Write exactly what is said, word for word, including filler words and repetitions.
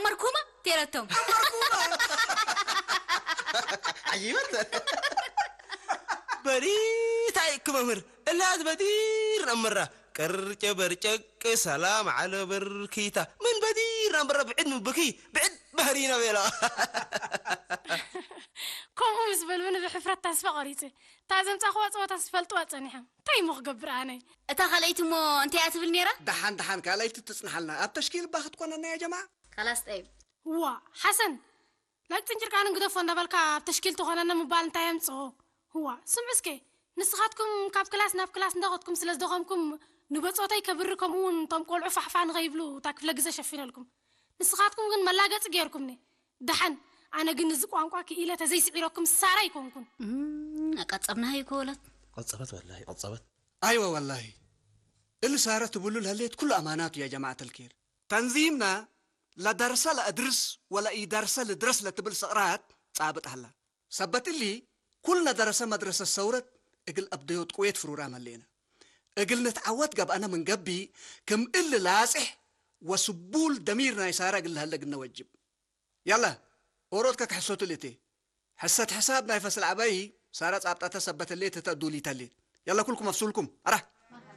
መርኩመ ቴረቶም። መርኩመ። ዐጂበት። በዲር ታይ እክ መምህር፣ እላት በዲር ነምራ። ቅርጨ በርጨቅ ሰላም ዐለ በርኪታ። ምን በዲር ነምራ ብዕድ ምን ብኪ፣ ብዕድ በህሪነ ቤላ። ከምኡ ምስ በልብኒ ብሕፍረት ተስፈ ቆሪጸ። እታ ዘምጻእክዋ ጸወታስ ፈልጥዋ ጸኒሐ። እንታይ እሞ ክገብር ኣነ? እታ ካልኣይት እሞ እንታይ እያ ትብል ነይራ? ደሓን ደሓን ካልኣይት ትጽንሓልና። ኣብ ተሽኪል እባ ክትኮነና ያ ጀማዓ። ካላስ ጠይብ። እዋ፣ ሓሰን፣ ላይክ ጽንጭርቃንን ግደፎ እንዳበልካ ኣብ ተሽኪል ትኾነና ምባል እንታይ የምጽኦ? እዋ፣ ስምዑ እስከ፣ ንስኻትኩም ካብ ክላስ ናብ ክላስ እንዳኸድኩም ስለ ዝደኸምኩም፣ ንበጾተይ ከብሪ ከምኡ እውን እቶም ቆልዑ ፋሕፋሕ ንኸይብሉ እታ ክፍለ ግዘ ሸፊነልኩም። ንስኻትኩም ግን መላገጺ ጌርኩምኒ። ደሓን፣ ኣነ ግን እዚ ቋንቋ ክኢለ ተዘይስዒረኩም ሳራ ኣይኮንኩን። እም፣ ኣቀጸብናሃ እኮ ወለት። ቀጸበት ወላሂ፣ ቀጸበት። ኣይወ ወላሂ። እሊ ሳረ ትብሉ ለህሌት ኩሉ ኣማናቱ ያ ጀማዐት አልኬር። ተንዚምና ለደርሰ ለአድርስ ወለኢደርሰ ልድረስ ለትብል ሰቅራት ጻብጥ ሀላ። ሰበት እሊ፣ ኩልነ ደረሰ መድረሰት ሰውረት እግል አብደዮት ቅዌት ፍሩራም ህሌነ። እግል ንትዐወት ገብአነ ምን ገብእ፣ ክም እሊ ላጽሕ ወስቡል ደሚር ናይ ሳረ እግል ለሀለ እግልነ ወጅብ። ያላ፣ ኦሮት ከክሐሶቱ ልእቴ። ሕሰት ሕሳብ ናይ ፈስል ዐበይ ሳረ ጻብጠተ ሰበት ህሌት ህተ እዱሊተ ህሌት። ያላ፣ ኩልኩም አፍሱልኩም። አራ።